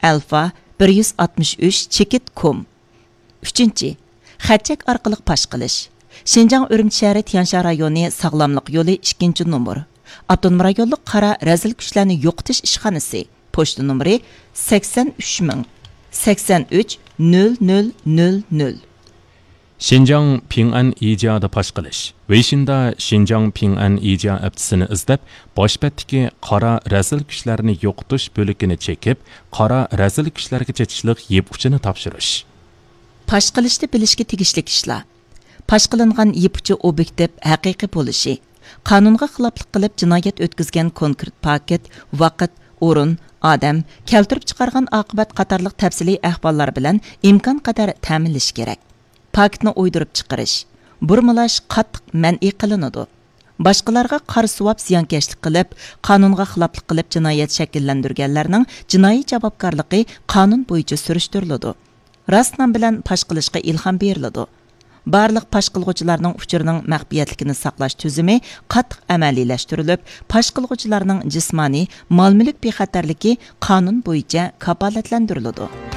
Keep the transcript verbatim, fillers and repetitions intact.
ئەلفا بىر يۈز ئاتمىش ئۈچ چېكىت كوم. ئۈچىنچى، خەت-چەك ئارقىلىق پاش قىلىش. شىنجاڭ ئۈرۈمچى شەھىرى تيەنشان رايونى ساغلاملىق يولى ئىككىنچى نومۇر، ئاپتونوم رايونلۇق قارا رەزىل كۈچلەرنى يوقىتىش ئىشخانىسى، پوچتا نومۇرى سەكسەن ئۈچ مىڭ، سەكسەن ئۈچ نۆل نۆل نۆل نۆل. شىنجاڭ پىڭئەن ئىجيادا پاش قىلىش. ۋېيشىندا شىنجاڭ پىڭئەن ئىجيا ئەپچىسىنى ئىزدەپ، باش بەتتىكى قارا رەزىل كۈچلەرنى يوقىتىش بۆلىكىنى چېكىپ، قارا رەزىل كۈچلەرگە چېتىشلىق يىپ ئۇچىنى تاپشۇرۇش. پاش قىلىشتا بىلىشكە تېگىشلىك ئىشلار. پاش قىلىنغان يىپ ئۇچى ئوبيېكتىپ، ھەقىقىي بولۇشى. قانۇنغا خىلاپلىق قىلىپ جىنايەت ئۆتكۈزگەن كونكرېت پاكىت، ۋاقىت، ئورۇن، ئادەم، كەلتۈرۈپ چىقارغان ئاقىۋەت قاتارلىق تەپسىلىي ئەھۋاللار بىلەن ئىمكانقەدەر تەمىنلىشى كېرەك. پاكىتنى ئويدۇرۇپ چىقىرىش، بۇرمىلاش قاتتىق مەنئى قىلىنىدۇ. باشقىلارغا قارا سوۋاپ زىيانكەشلىك قىلىپ، قانۇنغا خىلاپلىق قىلىپ جىنايەت شەكىللەندۈرگەنلەرنىڭ جىنايى جاۋابكارلىقى قانۇن بويىچە سۈرۈشتۈرۈلىدۇ. راست نام بىلەن پاش قىلىشقا ئىلھام بېرىلىدۇ. بارلىق پاش قىلغۇچىلارنىڭ ئۇچۇرىنىڭ مەخپىيەتلىكىنى ساقلاش تۈزۈمى قاتتىق ئەمەلىيلەشتۈرۈلۈپ، پاش قىلغۇچىلارنىڭ جىسمانىي، مال-مۈلۈك بىخەتەرلىكى قانۇن بويىچە كاپالەتلەندۈرۈلىدۇ.